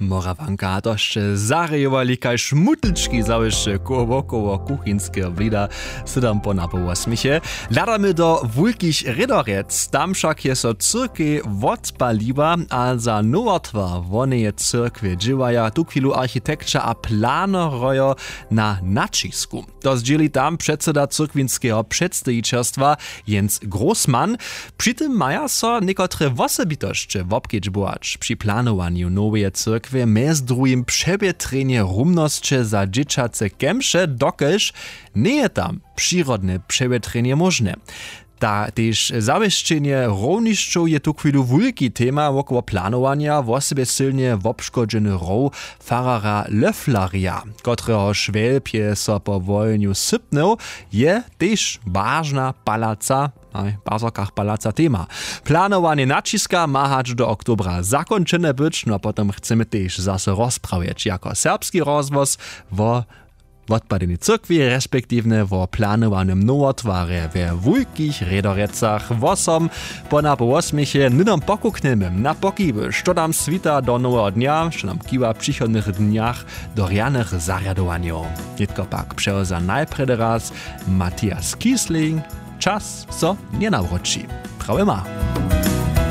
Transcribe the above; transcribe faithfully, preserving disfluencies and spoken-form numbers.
Morawanka a to sće zarejowali kaž mutlčki zawěsće koło wokoło kuchinskeho blida. Sydom po na po wosměche hladamy do wulkich rědorjec. Tam wšak je so cyrkej wotpaliła a za nowotwar woneje cyrkwje dźěłaja tuchwilu architekća a planerojo na naćisku. To zdźěli tam předsyda cyrkwinskeho předstajićerstwa jens grossmann. Při tym maja so někotre wosebitosće wobkedźbować při planowanju noweje cyrkwje mjez druhim přewjetrjenje rumnosće za dźěćace kemše dokelž njeje tam přirodne přewjetrjenje móžne. Ta tež zawěsćenje hrownješćow je tuchwilu wulki tema wokoło planowanja wosebje sylnje wobškodźeny hrow fararja löfflerja, kotrehož wjelpje so po wojenju sypnył, je tež wažna palaca w bazorkach palaca tema. Planowanje naćiska ma hač do oktobra zakónčene być no a potom chcemy tež zaso rozprawjeć jako serbski rozhłos wo wotpadenej cyrkwi respektiwnje wo planowanym nowotwarje we wulkich rědorjecach. Wosom po na po wosměche hnydom pokuknjemy na pokiwy što nam swita do noweho dnja što nam kiwa w přichodnych dnjach do rjanych zarjadowanjow. Nětko pak přewza najprjedy raz mathias kiesling. Čas so njenawróći. Prawje ma.